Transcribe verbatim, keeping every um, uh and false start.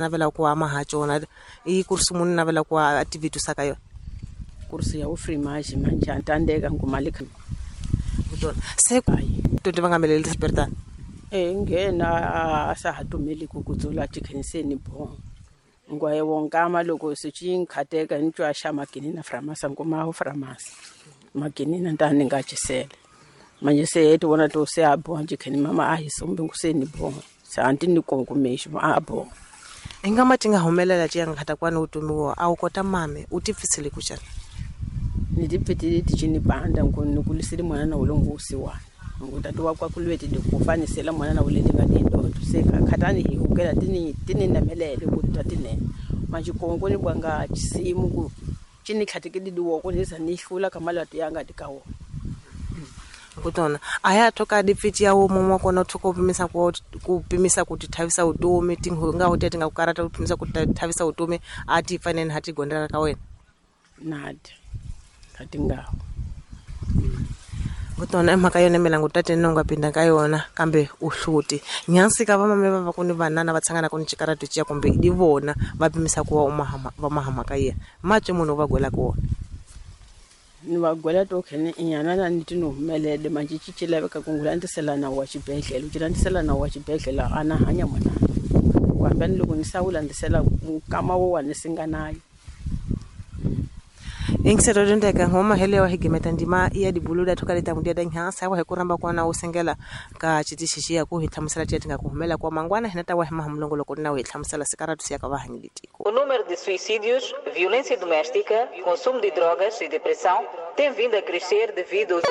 Navela ku ama ha cona i kursi muni navela ku a tivitisa ka yona kursi ya ufrimage manje antandeka ngumali kutona se to ti va nga meleli sperta eh ngena a sa hatumeli ku kudzula tikheniseni bo ngwaye wonkama loko se chinkhateka ni twa xa makinina framasa nguma framasa makinina ntani nga chisele manje se eti wona to se a bo nje mama a hi sombe nguseni bo se anti ni konkumexi a bo ingama tinga humelela ci yang khata kwani utumiwa a u kota mame u tipfisile ku xana ni tipfitile tichini banda ngoni kulisile mwana na ulongosi wa ngutatu wa kwa kulweti de kufanisela mwana na ulele nga dindo se khatani hi ukela tini tini namelele ku tatine manje kongo ni bwanga chisimu ku chini khatikidi diwoko ni za ni hlula kamalatu yanga dikawo kutona aya thoka dipfiti ya wo mumwe kona thoko pimisa ku ku pimisa ku tithavisa utomi tinga ho tete nga ku karata ku pimisa ku tithavisa utomi a ti fanene ha ti gondela ka wena nadi khatinga kutona emhaka yona milangu tate nonga pinda ka yona kambe u hluti nyansi ka vamame va va ku ni vanana va tshangana ku ni chikaratu chiya kumbe di vona va pimisa ku wa umahama va mahama ka yena matwe munhu va gwela ku wona ni va gwela to khene inyana na ni tino humelele manje ci laveka ku ngulantisela nawu wa xibedhlele u ci landisela nawu wa xibedhlele a na hanya mwana ku hambani loko ni sawulandisela nkama wo wa ni singa nayo ingisero ndeka ngoma helewa higimeta ndima ya dibuluda thoka leta mudia danha wa hikuramba kwana usengela ka chitishi ya ku hitlamusela tiya tinga kuhumela kwa mangwana hinata wa hima hamlongo loko na hitlamusela sikaratu siya ka vahangilitiko. O número de suicídios, violência doméstica, consumo de drogas e depressão tem vindo a crescer devido aos